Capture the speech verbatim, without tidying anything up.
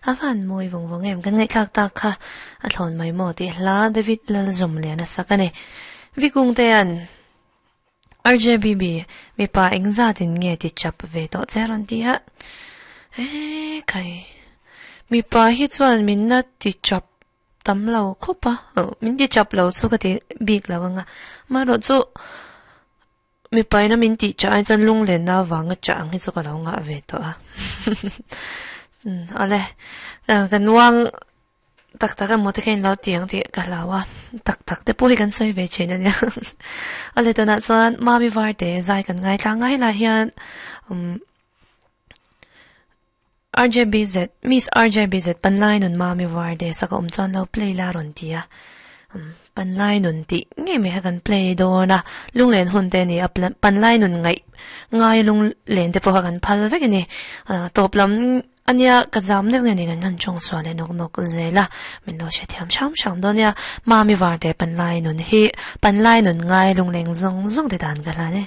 A van mawi vawng vawng em kan ngaihthlak tak kha a thlawn mai maw tih hla David Lalzawmliana sak a ni. Vikung te an R J B B mipa engzat in nge ti chap ve tawh che rawn ti a. E khai mipa hi chuan min na ti chap tam lo khawp a, min ti chap lo chu ka ti bik lo anga marawh chu mipa ina min tih chah ai chuan lunglenna avanga chah ang hi chu ka lo ngah ve tawh a. Awle kan uang tak tak emaw te kha in lo ti ang tih ka hlau a, tak tak te pawh hi kan sawi ve thin ania. Awle tunah chuan Mami Varte zai kan ngaithla ngai lah hian um R J B Z Miss R J B Z panlai nun Mami Varte saka awm chuan lo play la rawn ti a. Panlai nun tih ngei mai kha kan play dawn a, lunglen hun te ani a, panlai nun ngaih ngai lunglen te pawh kha kan phal vek ani. Tawp lam ania ka zam deuh nge ni kan han chawng sual leh nawk nawk zel a, min lo hre thiam hram hram dawn nia. Mami Varte panlai nun hi panlai nun ngai lungleng zawng zawng te dan ka hlan e.